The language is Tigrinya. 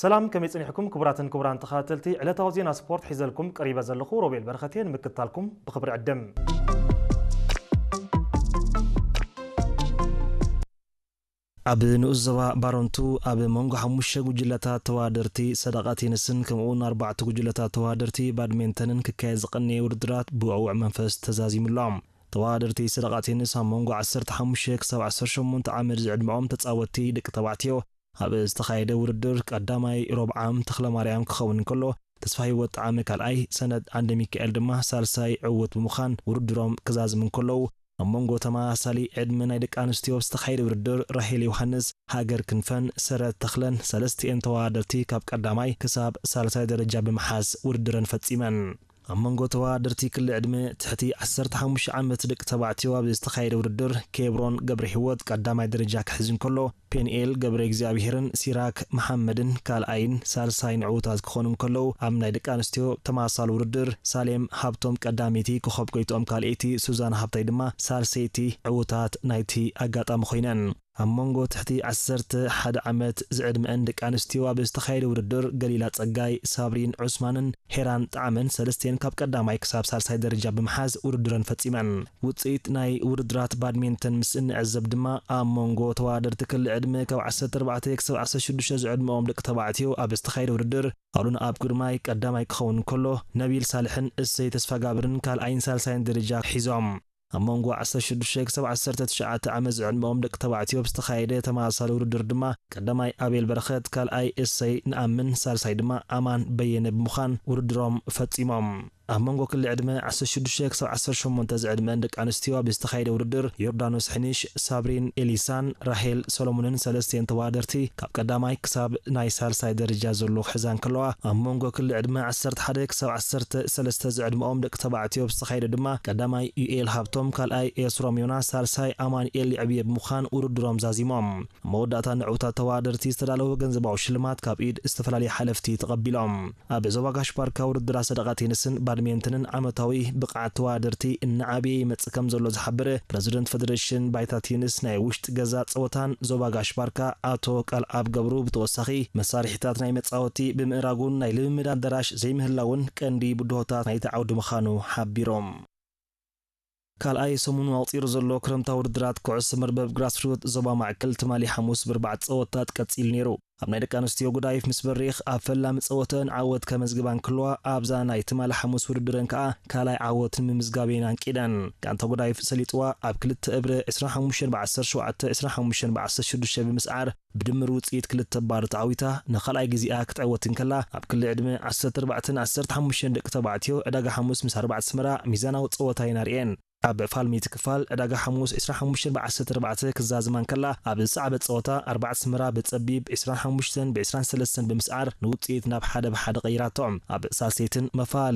ሰላም፣ ከመይ ጸኒሕኩም ክቡራትን ክቡራን ተኸታተልቲ ዕለታዊ ዜና ስፖርት? ሒዘልኩም ቀሪበ ዘለኹ ሮቤል በረኸት እየ። ንምክትታልኩም ብኽብሪ ዕድም። ኣብ ንኡስ ዞባ ባረንቱ ኣብ መንጎ ሓሙሽተ ጉጅለታት ተወዳደርቲ ሰደቓ ቴኒስን ከምኡውን ኣርባዕተ ጉጅለታት ተወዳደርቲ ባድሜንተንን ክካየድ ዝቐነየ ውድድራት ብውዕውዕ መንፈስ ተዛዚሙ ኣሎ። ተወዳደርቲ ሰደቓ ቴኒስ ኣብ መንጎ ዓሰርተ ሓሙሽተ ክሳብ ዓሰርተ ሸሞንተ ዓመት ዝዕድመኦም ተጻወትቲ ደቂ ተባዕትዮ ኣብ ዝተኻየደ ውድድር ቀዳማይ ሮብዓም ተኽለማርያም ክኸውን እንከሎ፣ ተስፋ ህይወት ጣዕመ ካልኣይ፣ ሰነድ ዓንደ ሚካኤል ድማ ሳልሳይ ዕውት ብምዃን ውድድሮም ክዛዝሙ እንከለዉ፣ ኣብ መንጎ ተመሳሳሊ ዕድመ ናይ ደቂ ኣንስትዮ ዝተኻየደ ውድድር ራሄል ዮሃንስ፣ ሃገር ክንፈን ሰረት ተኽለን ሰለስቲኤን ተወዳደርቲ ካብ ቀዳማይ ክሳብ ሳልሳይ ደረጃ ብምሓዝ ውድድረን ፈጺመን። ኣብ መንጎ ተወዳደርቲ ክሊ ዕድመ ትሕቲ ዓሰርተ ሓሙሽተ ዓመት ደቂ ተባዕትዮ ኣብ ዝተኻየደ ውድድር ኬብሮን ገብረ ህይወት ቀዳማይ ደረጃ ክሕዝ እንከሎ፣ ፔንኤል ገብረ እግዚኣብሄርን ሲራክ መሓመድን ካልኣይን ሳልሳይን ዕዉታት ክኾኑ እንከለዉ፣ ኣብ ናይ ደቂ ኣንስትዮ ተመሳሳሊ ውድድር ሳሌም ሃብቶም ቀዳመይቲ፣ ኮኸብ ጎይትኦም ካልኣይቲ፣ ሱዛን ሃብታይ ድማ ሳልሰይቲ ዕዉታት ናይቲ ኣጋጣሚ ኮይነን። ኣብ መንጎ ትሕቲ ዓሰርተ ሓደ ዓመት ዝዕድመአን ደቂ ኣንስትዮ ኣብ ዝተኻየደ ውድድር፣ ገሊላ ጸጋይ፣ ሳብሪን ዑስማንን ሄራን ጣዕመን ሰለስቲኤን ካብ ቀዳማይ ክሳብ ሳልሳይ ደረጃ ብምሓዝ ውድድረን ፈጺመን። ውጽኢት ናይ ውድድራት ባድሜንተን ምስ እንዕዘብ ድማ፣ ኣብ መንጎ ተወዳደርቲ ክሊ ዕድመ ካብ ዓሰርተ ኣርባዕተ ክሳብ ዓሰርተ ሽዱሽተ ዝዕድመኦም ደቂ ተባዕትዮ ኣብ ዝተኻየደ ውድድር፣ ኣሉን ኣብ ግርማይ ቀዳማይ ክኸውን እንከሎ፣ ነቢል ሳልሕን እሰይ ተስፋጋብርን ካልኣይን ሳልሳይን ደረጃ ሒዞም። ኣብ መንጎ ዓሰርተ ሽዱሽተ ክሳብ ዓሰርተ ትሽዓተ ዓመት ዝዕድመኦም ደቂ ተባዕትዮ ብዝተኻየደ ተመሳሳሊ ውድድር ድማ፣ ቀዳማይ ኣቤል በረኸት፣ ካልኣይ እሰይ ንኣምን፣ ሳልሳይ ድማ ኣማን በየነ ብምዃን ውድድሮም ፈጺሞም። ኣብ መንጎ ክሊ ዕድመ ዓሰርተ ሽዱሽተ ክሳብ ዓሰርተ ሸሞንተ ዝዕድመን ደቂ ኣንስትዮ ኣብ ዝተኻየደ ውድድር፣ ዮርዳኖስ ሕንሽ፣ ሳብሪን ኤሊሳን ራሄል ሰሎሞንን ሰለስቲኤን ተወዳደርቲ ካብ ቀዳማይ ክሳብ ናይ ሳልሳይ ደረጃ ዘሎ ክሕዛ እንከለዋ፣ ኣብ መንጎ ክሊ ዕድመ ዓሰርተ ሓደ ክሳብ ዓሰርተ ሰለስተ ዝዕድመኦም ደቂ ተባዕትዮ ብዝተኻየደ ድማ፣ ቀዳማይ ዩኤል ሃብቶም፣ ካልኣይ ኤስሮም ዮናስ፣ ሳልሳይ ኣማኑኤል ይዕብየ ብምዃን ውድድሮም ዛዚሞም። ኣብ መወዳእታ ንዕውታት ተወዳደርቲ ዝተዳለወ ገንዘባዊ ሽልማት ካብ ኢድ ዝተፈላለዩ ሓለፍቲ ተቐቢሎም። ኣብ ዞባ ጋሽ ባርካ ውድድራት ሰደቓ ቴኒስን ባድሜንተንን ዓመታዊ ብቕዓት ተወዳደርቲ እናዓበየ ይመጽእ ከም ዘሎ ዝሓበረ ፕረዚደንት ፌደሬሽን ባይታ ቴኒስ ናይ ውሽጢ ገዛ ጸወታን ዞባ ጋሽ ባርካ ኣቶ ቃልኣብ ገብሩ፣ ብተወሳኺ መሳርሒታት ናይ መጻወቲ ብምእራጉን ናይ ልምምድ ኣዳራሽ ዘይምህላውን ቀንዲ ብድሆታት ናይቲ ዓውዲ ምዃኑ ሓቢሮም። ካልኣይ ሰሙኑ ኣቑጺሩ ዘሎ ክረምታዊ ውድድራት ኩዕሶ መርበብ ግራስሩት ዞባ ማእከል ትማሊ ሓሙስ ብርባዕተ ጸወታት ቀጺሉ ነይሩ። ኣብ ናይ ደቂ ኣንስትዮ ጉዳይፍ ምስ በሪኽ ኣብ ፈላሚ ጸወተን ዓወት ከመዝግባ እንክልዋ፣ ኣብዛ ናይ ትማሊ ሓሙስ ውድድረን ከኣ ካልኣይ ዓወት ንምምዝጋብ እየን ኣንቂደን። ጋንታ ጉዳይፍ ሰሊጥዋ ኣብ ክልተ እብረ ዕስራን ሓሙሽተን ብዓሰርተ ሸውዓተ፣ ዕስራን ሓሙሽተን ብዓሰርተ ሽዱሽተ ብምስዓር ብድምር ውጽኢት ክልተ ባዶ ተዓዊታ ንኻልኣይ ግዜኣ ክትዕወት እንከላ፣ ኣብ ክሊ ዕድመ ዓሰርተ ኣርባዕተን ዓሰርተ ሓሙሽተን ደቂ ተባዕትዮ ዕዳጋ ሓሙስ ምስ ኣርባዕተ ኣስመራ ሚዛናዊ ጸወታ እየን ኣርእየን። ኣብ ፋልሚቲ ክፋል ዕዳጋ ሓሙስ ዕስራን ሓሙሽተን ብዓሰርተ ኣርባዕተ ክዛዝማ እንከላ፣ ኣብ ዝሰዓበ ጸወታ ኣርባዕተ ኣስመራ ብጸቢብ ዕስራን ሓሙሽተን ብዕስራን ሰለስተን ብምስዓር ንውጽኢት ናብ ሓደ ብሓደ ቀይራቶ። ኣብ ሳልሰይትን መፋል